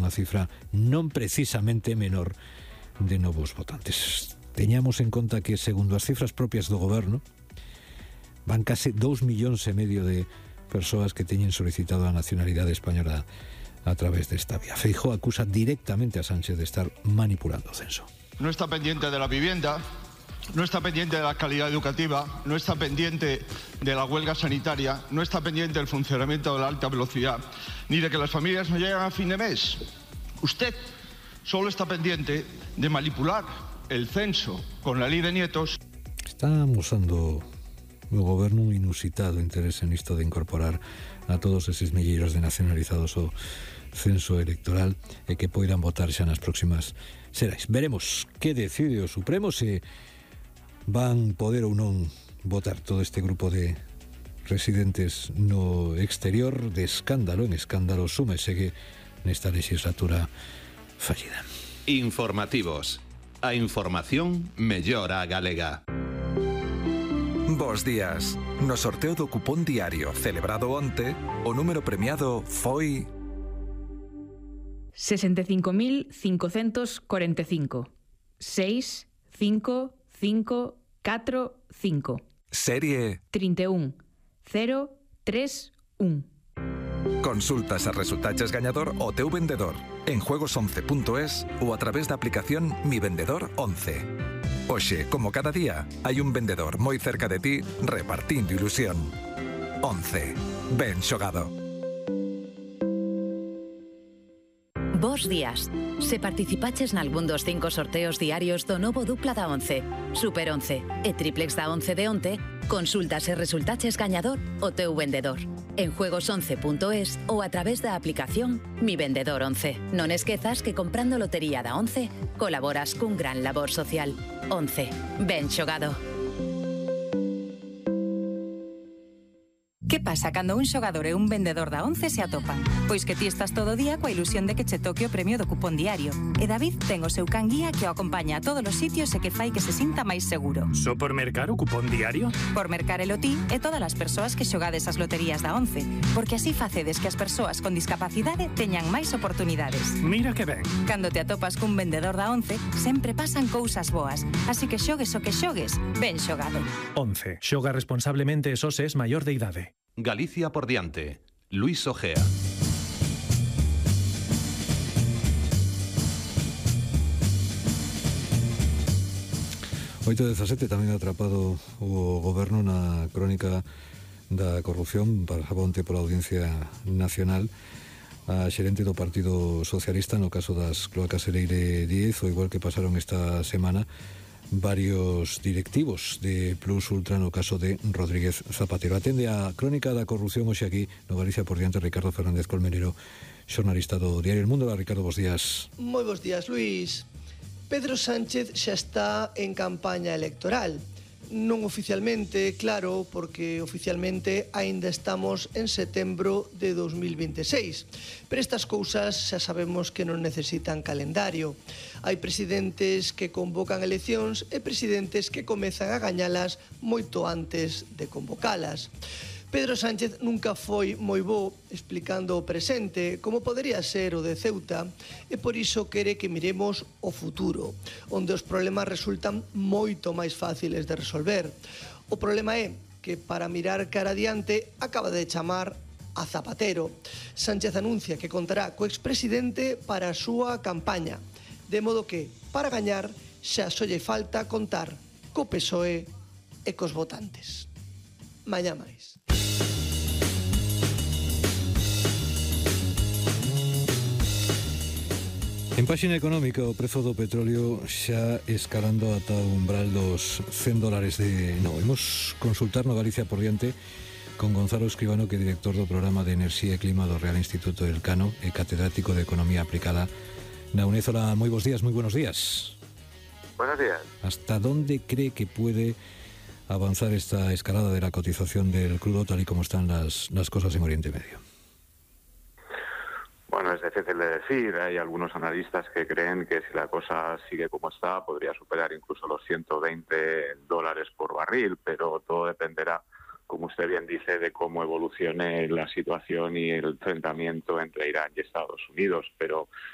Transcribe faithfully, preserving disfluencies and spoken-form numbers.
unha cifra non precisamente menor de novos votantes. Teñamos en conta que, segundo as cifras propias do goberno, van case dous millóns e medio de persoas que teñen solicitado a nacionalidade española a través desta vía. Feijóo acusa directamente a Sánchez de estar manipulando o censo. No está pendiente de la vivienda, no está pendiente de la calidad educativa, no está pendiente de la huelga sanitaria, no está pendiente del funcionamiento de la alta velocidad, ni de que las familias no lleguen a fin de mes. Usted solo está pendiente de manipular el censo con la ley de nietos. Está amosando o goberno un inusitado interese nisto de incorporar a todos eses milleiros de nacionalizados o censo electoral e que poidan votar xa nas próximas serais. Veremos que decide o Supremo, se van poder ou non votar todo este grupo de residentes no exterior. De escándalo en escándalo súmese que nesta legislatura fallida. Informativos. A información mellora a galega. Bos días. No sorteo do cupón diario celebrado onte, o número premiado foi sesenta e cinco mil cincocentos cuarenta e cinco. seis, cinco, cinco, catro, cinco. Serie trinta e un, cero, tres, un. Consultas a resultaches gañador o teu vendedor en juegos once punto es ou a través da aplicación Mi Vendedor once. Hoxe, como cada día, hai un vendedor moi cerca de ti repartindo ilusión. once. Ben xogado. Bos días. Se participaches nalgún dos cinco sorteos diarios do novo dupla da once, Super once e triplex da once de onte, consultas e resultaches gañador o teu vendedor en juegos once punto es ou a través da aplicación Mi Vendedor once. Non esquezas que comprando lotería da once colaboras cun gran labor social. once. Ben xogado. Que pasa cando un xogador e un vendedor da once se atopan? Pois que ti estás todo o día coa ilusión de que che toque o premio do cupón diario. E David ten o seu can guía que o acompaña a todos os sitios e que fai que se sinta máis seguro. Só por mercar o cupón diario? Por mercarelo ti e todas as persoas que xogades as loterías da once, porque así facedes que as persoas con discapacidade teñan máis oportunidades. Mira que ben. Cando te atopas cun vendedor da once, sempre pasan cousas boas, así que xogues o que xogues, ben xogado. once. Xoga responsablemente e só se es maior de idade. Galicia por diante. Luis Ojea. oito dezasete tamén atrapado o goberno na crónica da corrupción. Pasaba onte pola Audiencia Nacional a xerente do Partido Socialista no caso das cloacas Ereire diez, o igual que pasaron esta semana varios directivos de Plus Ultra no caso de Rodríguez Zapatero. Atende a crónica da corrupción hoxe aquí no Galicia por diante Ricardo Fernández Colmenero, xornalista do Diario El Mundo. Ricardo, bos días. Moi bos días, Luís. Pedro Sánchez xa está en campaña electoral. Non oficialmente, claro, porque oficialmente aínda estamos en setembro de dos mil veintiséis. Pero estas cousas xa sabemos que non necesitan calendario. Hai presidentes que convocan eleccións e presidentes que comezan a gañalas moito antes de convocalas. Pedro Sánchez nunca foi moi bo explicando o presente, como podería ser o de Ceuta, e por iso quere que miremos o futuro, onde os problemas resultan moito máis fáciles de resolver. O problema é que para mirar cara adiante acaba de chamar a Zapatero. Sánchez anuncia que contará co expresidente para a súa campaña, de modo que, para gañar, xa só lle falta contar co P S O E e cos votantes. Mañá máis. En páxina económica, o prezo do petróleo xa escalando ata o umbral dos cen dólares de... No, imos consultar no Galicia por diante con Gonzalo Escribano, que é director do programa de Enerxía e Clima do Real Instituto del Cano e catedrático de Economía Aplicada na UNED. Hola, moi bons días, moi buenos días. Buenos días. ¿Hasta dónde cree que puede avanzar esta escalada de la cotización del crudo tal y como están las, las cosas en Oriente Medio? Bueno, es difícil de decir. Hay algunos analistas que creen que si la cosa sigue como está, podría superar incluso los ciento veinte dólares por barril, pero todo dependerá, como usted bien dice, de cómo evolucione la situación y el enfrentamiento entre Irán y Estados Unidos. Pero